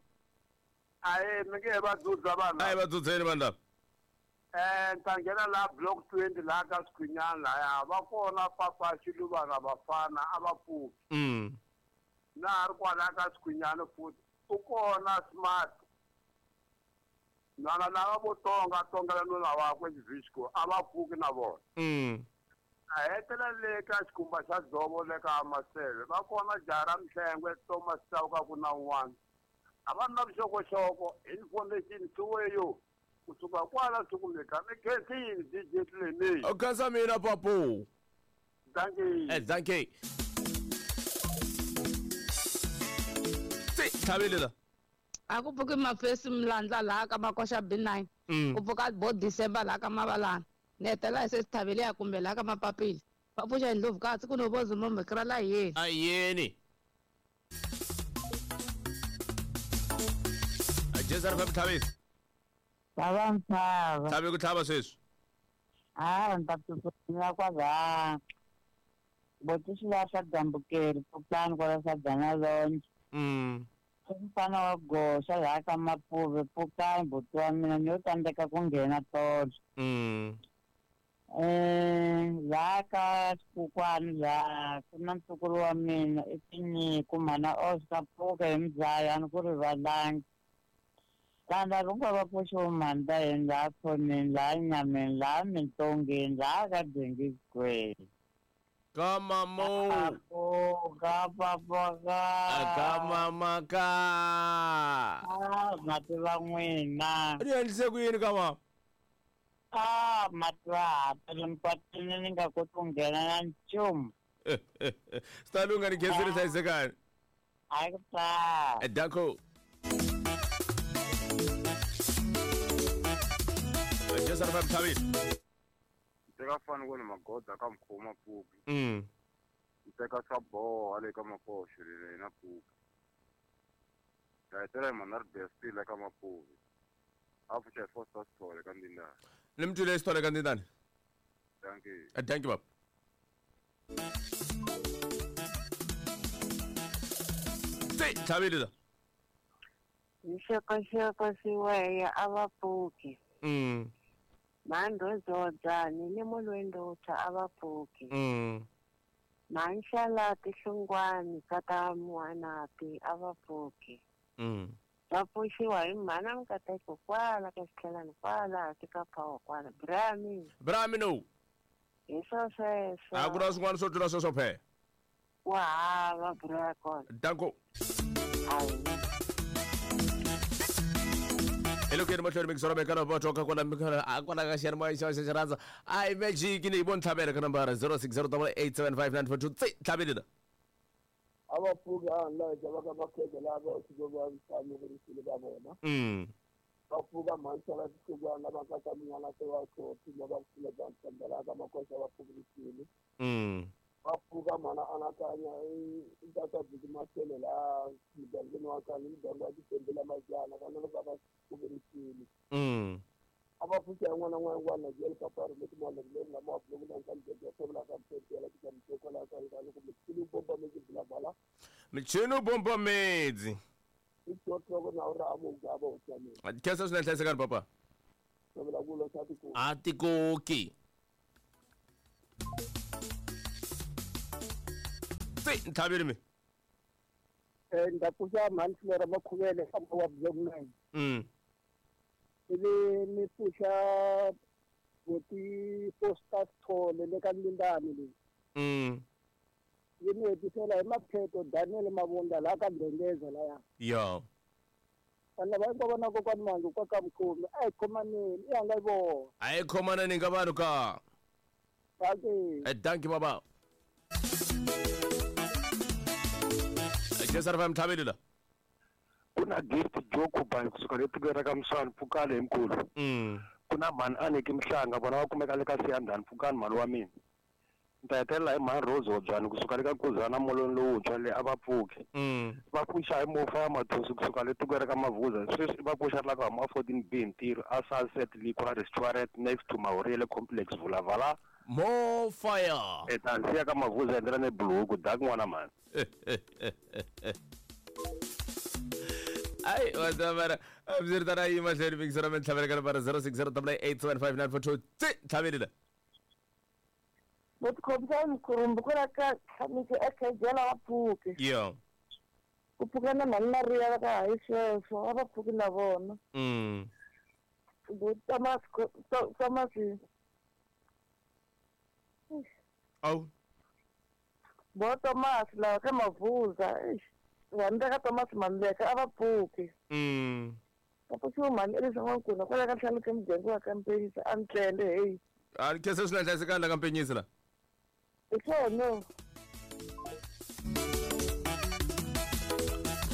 Ahe mi nge va dzudza vanhu. A hi va dzudzeni vanhu lava. Ni ta nghena laha block 20 laha ka Skhwinyana lahaya va kona papa Xiluvana vafana a va pfuki. Na ha ri kwalaya ka Skhwinyana futhi u kona Smart. Nwana lava vo tonga tongela nuna wakwe Xivhisco a va pfuki na vona. A hetelela le ka xikhumba xa dzovo le ka Maseve va kona jaha ra Mhlengwe Thomas Chauke ku na un'wana. A va na vuxokoxoko information swiweyo. Kusuka kwala sikumeka mi khensile DJ Tlemi. U khensa mina papu. Dankie. Dankie. Tsi tlhavelela. A ku pfuki mafesi Mlandla laha ka Makoxa B9. Ku pfuka bo December laha ka Mavalana. Ni hetelela hi se Tlhaveleya kumbe laha ka Mapapila. Va pfuxa hi Ndlovukazi ku no vozi momhekera la yeni. A yeni. Jesar FM tlhavela. Tlhava ntshava. Tlhave ku tlhava sweswi. Ah, ni ta tsutsumela kwalaha. Botisi la swa Gambukeri pfukani kwala swa Dana Longe. Mfana wa goxa laha ka Mapuve pfukani buti wa mina ni yo tsandzeka ku nghena tolo. Laha ka Xikukwani laha ku na ntukulu wa mina i Tinyiko mhana Oscar pfuka hi muzaya a ni ku rivalangi. Vanhu lava hinkwavo va pfuxiwe mhani va yena laha khoneni laha nyameni laha mintongeni laha ka Dengizigweni. Ka mamo. Ka papa ka. Ka mama ka. Ah, mati va n'wina. Ri endlise ku yini ka mama? Ah, mati va ha tele mpatwini ni nga koti ku nghena na nchumu. Swi ta lungha ni khensile hlayisekani. Hayi ku ta. Danko. Jesar FM tlhavile. Teka fani ku ni magoda ka Mkhoma pfuki. Teka swa boha le ka Makoxo le na pfuki. Ta hetelela hi mhana ri bestile ka Mapuve. A pfuxa hi Foster Sithole ka Ndindani. Ni mi twile Sithole ka Ndindani. Dankie. Dankie baba. Tse tlhabile la. Nxokoxoko siweya a va pfuki. Mhandhozodzani ni mulwendutha a va pfuki. Mhanxalati hlungwani kata muwanati a va pfuki. Va pfuxiwa hi mhana Mukateko kwala ka xitlhelani kwala hansi ka phawa kwala. Brami. Brami no. Hi swo sweswo. A ku na swin'wana swo tlula sweswo phe. Wa hava bra kona. Danko. Elokweni mahlweni mikisoro mekana va toka kwala mikana a kwala ka xiyanimoya xa xa xirhandza a i magic ni yi voni tlhavela ka nambara 0608875942 tse tlhaveli la. A va pfuki a laha va ka makhege lava swi va vitaniwe va vona. Va pfuka mhanxala tihlungwana va ka minyana se va tlhoti va pfula bya ntshembela ka makoxa va pfukirisile. Va pfuka mhana anakanya i tata biki masele la mugangeni wa ka ni muganga wa titembela majana vana va va pfukirisile. A va pfuka n'wana n'wana na jele kapari leti mwana leri lama wa blogu na nkambe ya tshembela ka mtembela ka mteko la ka ka loko michini bomba medzi bla bla. Michini bomba medzi. I na ura amugaba utshame. Kesa swinene hlayisekani papa. A tikoki. Tse ntlhaveli mi. Nda pfuxa mhani Flora Makhuvele famba wa block 9. Ivi ni pfuxa boti Foster Sithole le ka Lindani leyi. Yi ni hetisela hi Mapheto Daniel Mavunda laha ka Ndengeza laya. Yo. Vanhu lava hinkwavo na kokwani Mandu kwa ka Mukhomi a hi khomaneni i hanga yi vona. A hi khomaneni ka vanhu ka. Dankie. Dankie baba. Jesar fam tlhaveli la. Ku na gift Joku Bank kusuka le tikweni ra ka Mswani pfukani hi mkhulu. Ku na mhani Aniki Mhlanga vona va kumeka le ka Siyandhani pfukani mhani wa mina. Ni ta hetelela hi mhani Rose Hobyani kusuka le ka Kuzana molweni lowuntshwa le a va pfuki. Va pfuxa hi Mofa ya Mathosi kusuka le tikweni ra ka Mavuza sweswi va pfuxa la ka huma 14B ntirho a Sunset Liquor Restaurant next to Mahorele Complex Vulavala. More fire. E ta siya ka Mavuza endlela ne buluku dak n'wana mhani. Ai, wazamara. Abzirtana yi mahlweni mikisoro mi tlhavela ka nambara 0608875942 tse tlhaveli la. Botikhomisa mkhurumbu kwala ka tlhamisi ekhejela va pfuki. Yo. Ku pfuka na mhani Mariya va ka hayi sweswo a va pfuki na vona. Bo Thomas Thomas. Awu. Bo Thomas la ka Mavuza. Vanhu ka Thomas Maluleke a va pfuki. Va pfuxiwa mhani Elisa N'wankuna kwala ka ntlhanu ka muganga wa ka Mpenyisa a ntlele heyi. A ni khensa swinene hlayisekani la ka Mpenyisa la. Hi swona.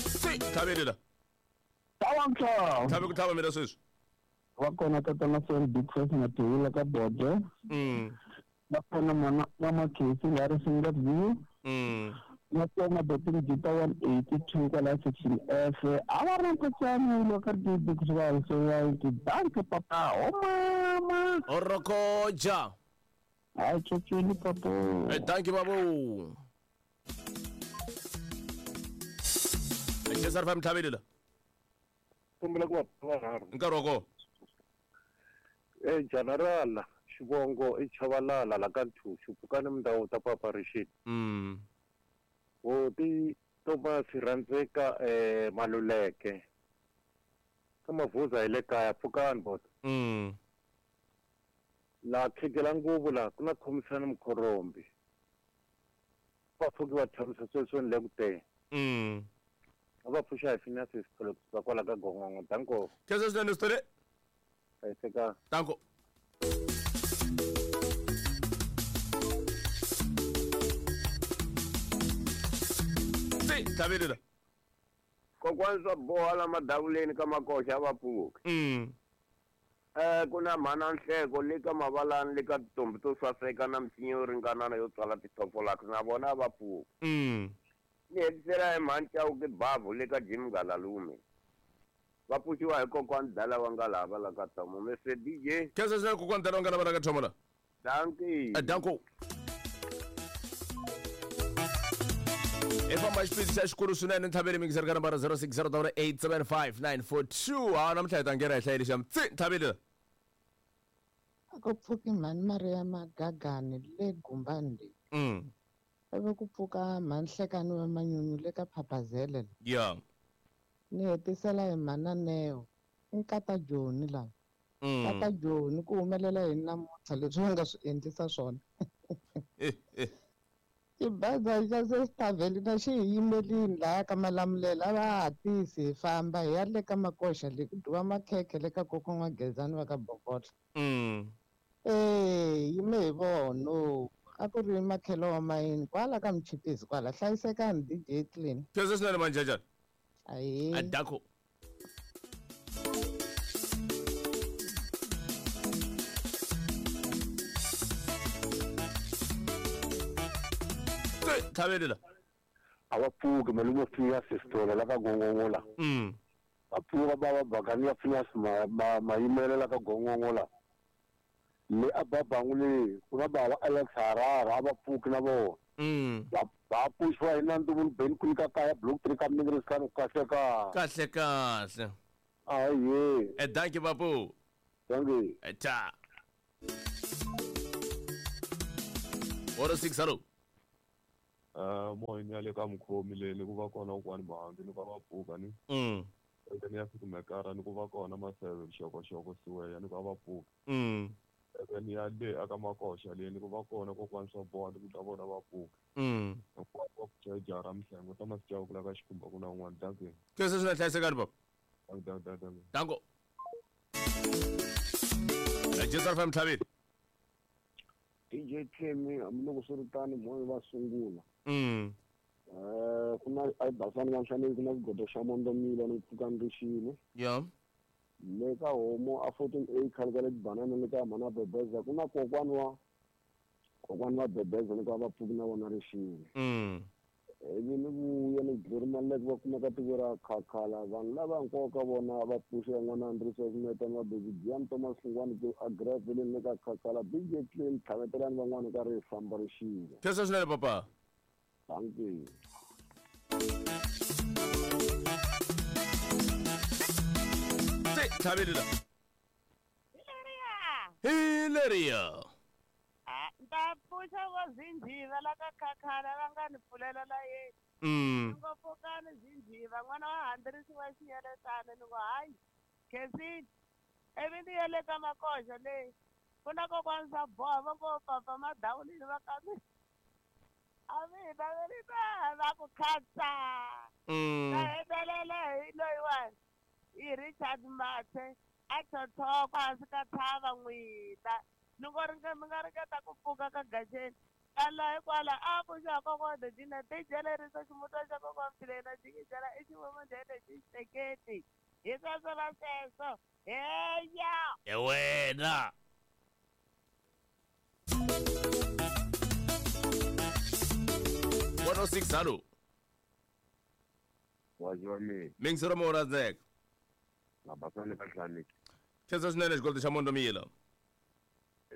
Tse tlhaveli la. Tlhava Tlhave ku tlhava mina sweswi. Va kona tatana Sam Big Face na Tiwula ka Bodo. Va kona mana mama Casey la ri single view. Na kona Botin Gita 182 kwala section F. A va ri nkotsana loko ri di kusuka so ya ti bank papa o mama. Orokoja. Ai tshweni papa. Thank you babu. Cesar fam tlhaveli la. Kombela ku va vanharhu. Nkarhi wa kona. General xivongo i Chavalala la ka Nthuxu pfukani mindhawu ta papa Rixini. Hoti Thomas Rhandzeka Maluleke. Ka Mavuza hi le kaya pfukani bot. La khegela nguvu la ku na khomisana Mkhorombi. Va pfuki va tshamisa sweswo ni le ku teng. A va pfuxa hi Phineas Sithole kusuka kwala ka Gongongo. Danko. Khensa swinene Sithole. Hlayisekani. Danko. Tse tlhaveli la. Kokwani swa boha la madavuleni ka makoxa va pfuki. Ku na mhana Nhleko le ka Mavalani le ka tintombi to saseka na misinya yo ringanana yo tswala tithofolaka na vona va pfuki. Ni hetisela hi mhani Chauke Bavu le ka Jim Galalume. Va pfuxiwa hi kokwani Dala wa Ngalava la ka Thomo. Mr DJ. Khensa swinene kokwani Dala wa Ngalava la ka Thomo la. Dankie. Danko. Hi famba xipidi xa xikulu swinene ntlhaveli mingiseri ka nambara 060 875 942. Ha namuntlha hi ta nghena hi hlayeli xa tsi ntlhaveli. A ku pfuki mhani Maria Magagani le Gumbani leyi. Ivi ku pfuka mhani Hlekani wa Manyunyu le ka Phaphazele la. Ya. Ni hetisela hi mhana Neo. I nkata Joni lava. Nkata Joni ku humelela yini namuntlha leswi va nga swi endlisa swona. Xibaza xa Sesitavhelina xi hi yimelini lahaya ka Malamulele a va hatlisi hi famba hi ya le ka Makoxa le ku dyiwa makhekhe le ka kokwa N'wagezani va ka Bokotla. Ee, yime hi vono. A ku ri makhelo wa mayini kwala ka Mchipisi kwala. Hlayisekani DJ Clean. Khensa swinene manjajana. Ahee. Adako. Tlhaveli la. A va pfuki malume pfunya sistola la ka gongongo la. Va pfuka ba va bakani ya pfunya mayimelo la ka gongongo la. Le a ba bangu le ku na bava Alex Harara a va pfuki na vona. Va pfuxiwa hi na Nduvu Ben ku nyika kaya block 3 ka mingi ri kahle ka. Kahle kahle. Aye. E dankie babu. Dankie. Ta. 106 hello. Moyeni ya le ka mukhomi leyi ni ku va kona kokwani Mahangi ni ku va pfuka ni. Eke ni ya fika mekara ni ku va kona Maseve Xokoxoko Siweya ni ku va pfuka. Eke ni ya le aka Makoxa leyi ni ku va kona kokwani swa boha ni ku ta vona va pfuka. Hinkwavo va pfuxa jara Mhlengo Thomas Chauke la ka Xikhumba ku na un'wana dankie. Sweswo swi nga hlayisekani baba. Dankie dankie dankie. Danko. Jesu FM Tlhavini. DJ Clemi hambiloko swi ri tano moya va sungula. Ku na a basani va nhlaneni ku na xigodo xa Mondomila ni pfuka ni ri xini. Ya. Le ka homo a 14A khale ka le tibanana le ka mhana Bebeza ku na kokwani wa Bebeza ni ka va pfuki na vona ri xini. Ivi ni vuya ni Glory Maleke va kumeka tiko ra Khakhala vanhu lava hinkwavo ka vona va pfuxa n'wana Andrisa Ximeta na Baby Giam Thomas Hlungwani ku agreveleni le ka Khakhala DJ Clean tlhavetelani van'wana ka ri famba ri xile. Khensa swinene papa. Thank you. Se tlhaveli la. Hi leriya. Ta pfuxa vo Zinjiva la ka Khakhala va nga ni pfulela la yena. Ni ngo pfukani Zinjiva n'wana wa handzirisiwa xiyeletana ni ngo hayi Khensini ivi ni ya le ka Makoxa leyi ku na kokwani swa boha va ngo papa madawulini va ka mi a mi hi naveli na va ku khatsa. Ta hetelela hi loyiwani hi Richard Mathe a tlhotlhokwa hansi ka ntshava n'wina. Ni ngo ringe mi nga ringeta ku pfuka ka gajeni ala hikwala a pfuxa kokwana dina tijelerisa ximutwa xa kokwana Mthilena jikijela i xivomo ndhene xi xeketi hi sweswo na sweswo heya E wena. One oh six hello. Wazi wa mina. Mingisero mo rhandzeka. Na basani ka hlaniki. Khensa swinene xikweleti xa Mondomila.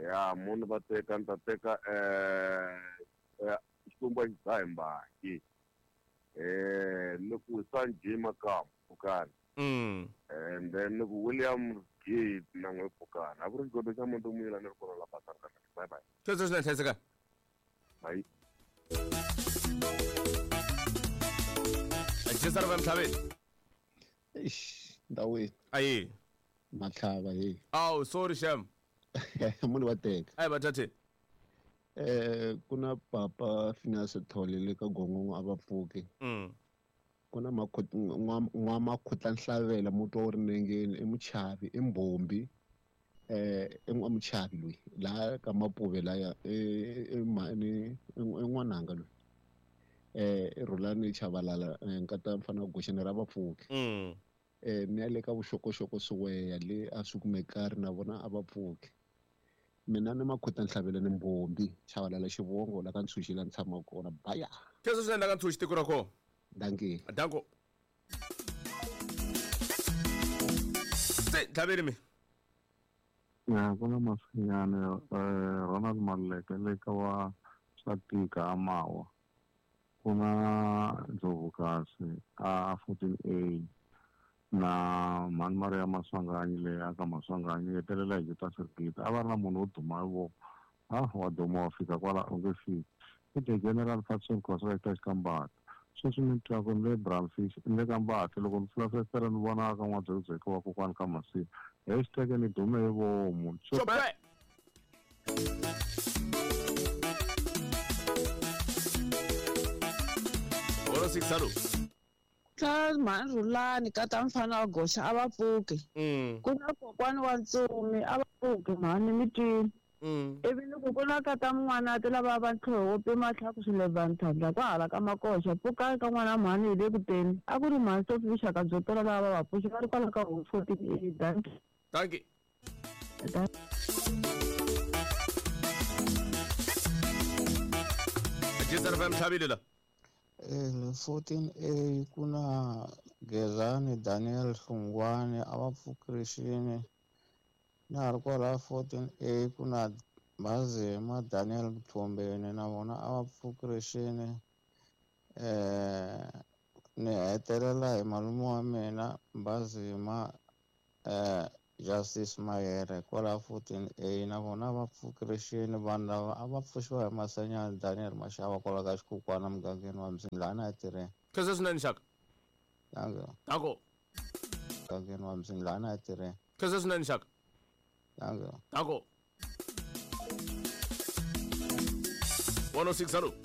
Ya munhu va teka ni ta teka xikwembu a xi dzahi mbangi. Ni ku Sanjay Makamu Pfukani. And then ni ku William Gate na n'we Pfukani. A ku ri xigodo xa Mondomila ni ri kona la basani ka hlaniki. Bye bye. Khensa swinene hlayisekani. Bye. Jesu FM Tlhaveni. Eish, ndawini. Ayi. Matlhava hey. Aw, sorry Shem. Munhu wa teka. Ayi bathathe. Ku na papa Phineas Thole le ka Gongongo a va pfuki. Ku na n'wa Nhlavela muti wa ri nengeni i muchavi i mbombi. I n'wamuchavi loyi laha ka Mapuve laya i n'wananga loyi. I Rhulani Chabalala nkata mfana wa Goxeni ra vapfuki. Ni ya le ka vuxokoxoko Siweya le a swi kumekari na vona a va pfuki. Mina ni Makhota Nhlavela ni Mbombi Chabalala xivongo la ka Ntshuxi la ni tshamaka kona baya. Khensa swinene la ka Ntshuxi tiko ra kona. Dankie. Danko. Se Tlhaveli mi. Ya ku na Masinyane Ronald Maluleke le ka wa swa tika a mawa. Ku na Ndlovukasi a 14A na mhani Maria Maswanganyi leyi a ka Maswanganyi yi hetelela hi Juta Sirigita. A va ri na munhu wo duma hi voko. Ha wa duma wa fika kwala u nge fiki. I the General Patson Khosa eka Xikambati. Sweswi ni twaku ni le Bramfish ni le ka Mbati loko ni pfula fesitere ni vona ka N'wadzekudzeke wa kokwani ka Masiya. Hashtag ni dume hi vomu. Chope! Oro six hello. Tla mhani Rhulani ka ta mfana wa goxa a va pfuki. Ku na kokwani wa ntsumi a va pfuki mhani mi twile. Ivi ni ku ku na ka ta mun'wanati lava va ntlhoho wo pima tlhaku swilevhani tlhandla kwahala ka makoxa pfukani ka n'wana mhani hi le ku teni. A ku ri mhani Sophie vuxaka byo tala lava va va pfuxa va ri kwala ka home 14A. Dankie. Dankie. Jizar FM tlhavile la. 14A ku na Gezani Daniel Hlungwani a va pfukirixini na ha ri kwala 14A ku na Mazema Daniel Mthombeni na vona a va pfukirixini ni hetelela hi malume wa mina Mbazima Justice Mayere kwala 14A na vona va pfukirixini vanhu lava a va pfuxiwa hi Masanyana Daniel Mashava kwala ka Xikukwana mugangeni wa Mzingilana a tirheni. Khensa swinene xaka. Danko. Danko. Mugangeni wa Mzingilana a tirheni. Khensa swinene xaka. Danko. Danko. 106 hello.